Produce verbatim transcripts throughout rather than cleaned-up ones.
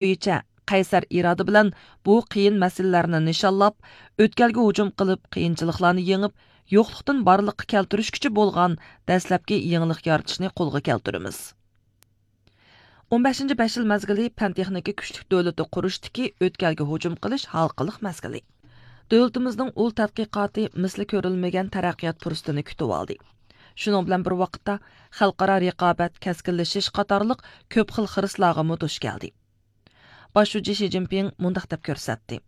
بويىچە قەيسەر ئىرادە بىلەن بۇ قىيىن مەسىلىلەرنى نىشانلاپ، ئۆتكەلگە ھۇجۇم قىلىپ، قىيىنچىلىقلارنى يېڭىپ، يوقلۇقتىن بارلىققا كەلتۈرۈشكىچە بولغان دەسلەپكى يېڭىلىق يارىتىشنى قولغا كەلتۈرىمىز. ئون بەشىنچى بەش يىل مەزگىلى پەن تېخنىكا كۈچلۈك دۆلىتى قۇرۇشتىكى ئۆتكەلگە ھۇجۇم قىلىش ھالقىلىق مەزگىلى. دۆلىتىمىزنىڭ ئۇل تەتقىقاتى مىسلى كۆرۈلمىگەن تەرەققىيات پۇرسىتىنى كۈتۈۋالدى. شۇنىڭ بىلەن بىر ۋاقىتتا، خەلقئارا رىقابەت كەسكىنلىشىش قاتارلىق كۆپ خىل خىرىسلارغىمۇ دۇچ كەلدى. باش شۇجى شى جىنپىڭ مۇنداق دەپ كۆرسەتتى: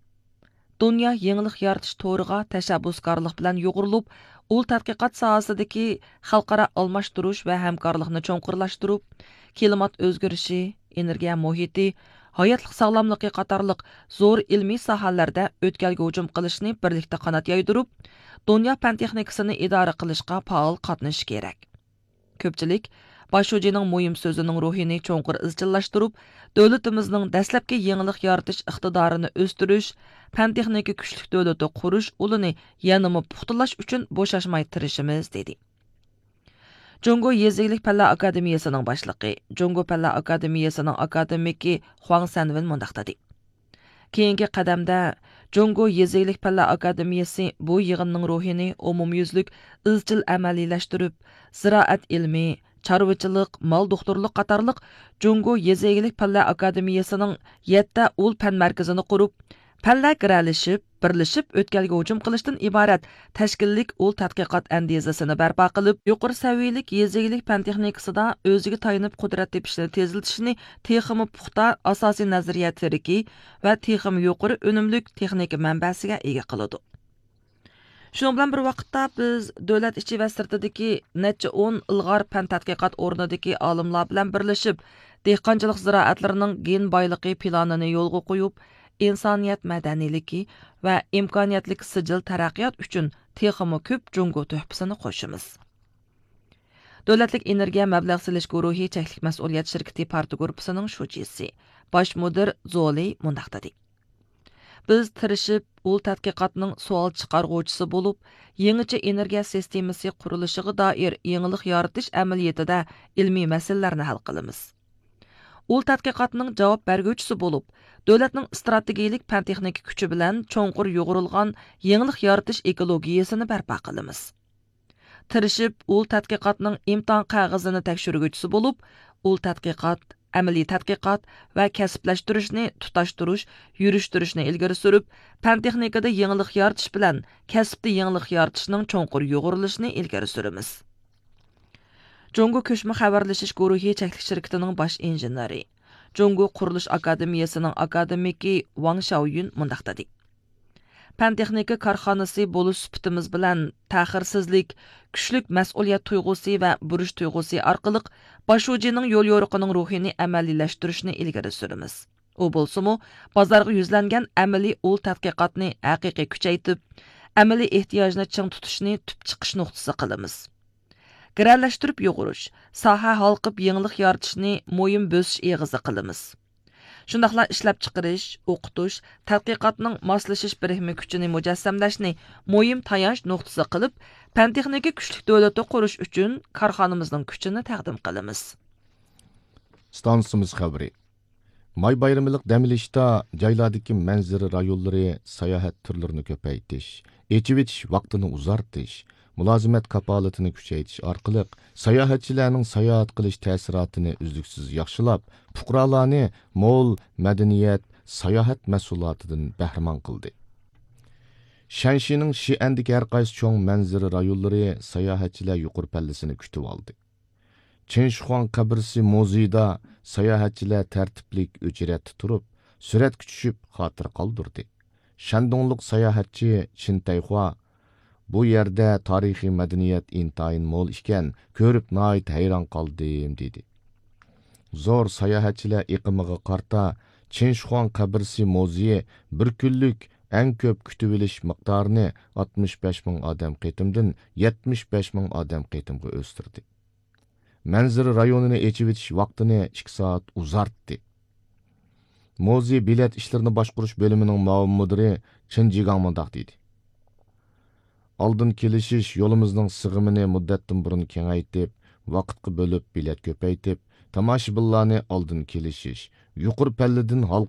دۇنيا يېڭىلىق يارىتىش تورىغا تەشەببۇسكارلىق بىلەن يۇغۇرۇلۇپ، ئۇل تەتقىقات ساھەسىدىكى خەلقئارا ئالماشتۇرۇش ۋە ھەمكارلىقنى چوڭقۇرلاشتۇرۇپ، كىلىمات ئۆزگىرىشى، ئېنېرگىيە مۇھىتى، ھاياتلىق ساغلاملىقى قاتارلىق زور ئىلمىي ساھەلەردە ئۆتكەلگە ھۇجۇم قىلىشنى بىرلىكتە قانات يايدۇرۇپ، دۇنيا پەن تېخنىكىسىنى ئىدارە قىلىشقا پائال قاتنىشىشى كېرەك. كۆپچىلىك باش شۇجىنىڭ مۇھىم سۆزىنىڭ روھىنى چوڭقۇر ئىزچىللاشتۇرۇپ، دۆلىتىمىزنىڭ دەسلەپكى يېڭىلىق يارىتىش ئىقتىدارىنى ئۆستۈرۈش، پەن تېخنىكا كۈچلۈك دۆلىتى قۇرۇش ئۇلىنى يەنىمۇ پۇختىلاش ئۈچۈن بوشاشماي تىرىشىمىز، دېدى. جۇڭگو يېزا ئىگىلىك پەنلەر ئاكادېمىيەسىنىڭ باشلىقى، جۇڭگو پەنلەر ئاكادېمىيەسىنىڭ ئاكادېمىكى خۇاڭ سەنۋېن مۇنداق دېدى: كېيىنكى قەدەمدە جۇڭگو يېزا ئىگىلىك پەنلەر ئاكادېمىيەسى بۇ يىغىننىڭ روھىنى ئومۇميۈزلۈك ئىزچىل ئەمەلىيلەشتۈرۈپ، زىرائەت ئىلمى، چارۋىچىلىق، مال دوختۇرلۇق قاتارلىق جۇڭگو يېزا ئىگىلىك پەنلەر ئاكادېمىيەسىنىڭ يەتتە ئۇل پەن مەركىزىنى قۇرۇپ، پەنلەر گىرەلىشىپ، بىرلىشىپ ئۆتكەلگە ھۇجۇم قىلىشتىن ئىبارەت تەشكىللىك ئۇل تەتقىقات ئەندىزىسىنى بەرپا قىلىپ، يۇقىرى سەۋىيەلىك يېزا ئىگىلىك پەن تېخنىكىسىدا ئۆزىگە تايىنىپ قۇدرەت تېپىشنى تېزلىتىشنى تېخىمۇ پۇختا ئاساسىي نەزەرىيە تىرىكى ۋە تېخىمۇ يۇقىرى ئۈنۈملۈك تېخنىكا مەنبەسىگە ئىگە قىلىدۇ. شۇنىڭ بىلەن بىر ۋاقىتتا، بىز دۆلەت ئىچى ۋە سىرتىدىكى نەچچە ئون ئىلغار پەن تەتقىقات ئورنىدىكى ئالىملار بىلەن بىرلىشىپ، دېھقانچىلىق زىرائەتلىرىنىڭ گېن بايلىقى پىلانىنى يولغا قويۇپ، ئىنسانىيەت مەدەنىيلىكى ۋە ئىمكانىيەتلىك سىجىل تەرەققىيات ئۈچۈن تېخىمۇ كۆپ جۇڭگو تۆھپىسىنى قوشىمىز. دۆلەتلىك ئېنېرگىيە مەبلەغ سېلىش گۇرۇھى چەكلىك مەسئۇلىيەت شىركىتى پارتىيە گۇرۇپپىسىنىڭ شۇجىسى، باش مۇدىر زولى مۇنداق دېدى: بىز تىرىشىپ، ئۇل تەتقىقاتنىڭ سوئال چىقارغۇچىسى بولۇپ، يېڭىچە ئېنېرگىيە سىستېمىسى قۇرۇلۇشىغا دائىر يېڭىلىق يارىتىش ئەمەلىيىتىدە ئىلمىي مەسىلىلەرنى ھەل قىلىمىز. ئۇل تەتقىقاتنىڭ جاۋاب بەرگۈچىسى بولۇپ، دۆلەتنىڭ ئىستراتېگىيىلىك پەن تېخنىكا كۈچى بىلەن چوڭقۇر يۇغۇرۇلغان يېڭىلىق يارىتىش ئېكولوگىيىسىنى بەرپا قىلىمىز. تىرىشىپ، ئۇل تەتقىقاتنىڭ ئىمتىھان قەغىزىنى تەكشۈرگۈچىسى بولۇپ، ئۇل تەتقىقات، ئەمەلىي تەتقىقات ۋە كەسىپلەشتۈرۈشنى تۇتاشتۇرۇش، يۈرۈشتۈرۈشنى ئىلگىرى سۈرۈپ، پەن تېخنىكىدا يېڭىلىق يارىتىش بىلەن كەسىپتە يېڭىلىق يارىتىشنىڭ چوڭقۇر يۇغۇرۇلۇشىنى ئىلگىرى سۈرىمىز. جۇڭگو كۆچمە خەۋەرلىشىش گۇرۇھى چەكلىك شىركىتىنىڭ باش ئىنژېنېرى، جۇڭگو قۇرۇلۇش ئاكادېمىيەسىنىڭ ئاكادېمىكى ۋاڭ شياۋيۈن مۇنداق دېدى: پەن تېخنىكا كارخانىسى بولۇش سۈپىتىمىز بىلەن، تەخىرسىزلىك، كۈچلۈك مەسئۇلىيەت تۇيغۇسى ۋە بۇرچ تۇيغۇسى ئارقىلىق باش شۇجىنىڭ يوليورۇقىنىڭ روھىنى ئەمەلىيلەشتۈرۈشنى ئىلگىرى سۈرىمىز. ئۇ بولسىمۇ، بازارغا يۈزلەنگەن ئەمەلىي ئۇل تەتقىقاتنى ھەقىقىي كۈچەيتىپ، ئەمەلىي ئېھتىياجنى چىڭ تۇتۇشنى تۈپ چىقىش نۇقتىسى قىلىمىز. گىرەلەشتۈرۈپ يۇغۇرۇش، ساھە ھالقىپ يېڭىلىق يارىتىشنى مۇھىم بۆسۈش ئېغىزى قىلىمىز. شۇنداقلا ئىشلەپچىقىرىش، ئوقۇتۇش، تەتقىقاتنىڭ ماسلىشىش بىرىكمە كۈچىنى مۇجەسسەملەشنى مۇھىم تايانچ نۇقتىسى قىلىپ، پەن تېخنىكا كۈچلۈك دۆلىتى قۇرۇش ئۈچۈن كارخانىمىزنىڭ كۈچىنى تەقدىم قىلىمىز. ئىستانسىمىز خەۋىرى. ماي بايرىملىق دەم ئېلىشتا جايلاردىكى مەنزىرە رايونلىرى ساياھەت تۈرلىرىنى كۆپەيتىش، ئېچىۋېتىش ۋاقتىنى ئۇزارتىش، مۇلازىمەت كاپالىتىنى كۈچەيتىش ئارقىلىق ساياھەتچىلەرنىڭ ساياھەت قىلىش تەسىراتىنى ئۈزلۈكسىز ياخشىلاپ، پۇقرالارنى مول مەدەنىيەت، ساياھەت مەھسۇلاتىدىن بەھرىمەن قىلدى. شەنشىنىڭ شىئەندىكى ھەرقايسى چوڭ مەنزىرە رايونلىرى ساياھەتچىلەر يۇقىرى پەللىسىنى كۈتۈۋالدى. چىن شىخۇاڭ قەبرىسى مۇزېيىدا ساياھەتچىلەر تەرتىپلىك ئۆچىرەتتە تۇرۇپ، سۈرەتكە چۈشۈپ خاتىرە قالدۇردى. شەندۇڭلۇق ساياھەتچى چىن تەيخۇا، «بۇ يەردە تارىخىي مەدەنىيەت ئىنتايىن مول ئىكەن، كۆرۈپ ناھايىتى ھەيران قالدىم» دېدى. زور ساياھەتچىلەر ئېقىمىغا قارىتا، چىن شىخۇاڭ قەبرىسى مۇزېيى بىر كۈنلۈك ئەڭ كۆپ كۈتۈۋېلىش مىقدارىنى ئاتمىش بەش مىڭ ئادەم قېتىمدىن يەتمىش بەش مىڭ ئادەم قېتىمغا ئۆستۈردى. مەنزىرە رايونىنى ئېچىۋېتىش ۋاقتىنى ئىككى سائەت ئۇزارتتى. مۇزېي بېلەت ئىشلىرىنى باشقۇرۇش بۆلۈمىنىڭ مۇئاۋىن مۇدىرى چېن جىگاڭ مۇنداق دېدى: «ئالدىن كېلىشىش يولىمىزنىڭ سىغىمىنى مۇددەتتىن بۇرۇن كېڭەيتىپ، ۋاقىتقا بۆلۈپ بېلەت كۆپەيتىپ، تاماشىبىنلارنى ئالدىن كېلىشىش، يۇقىرى پەللىدىن ھال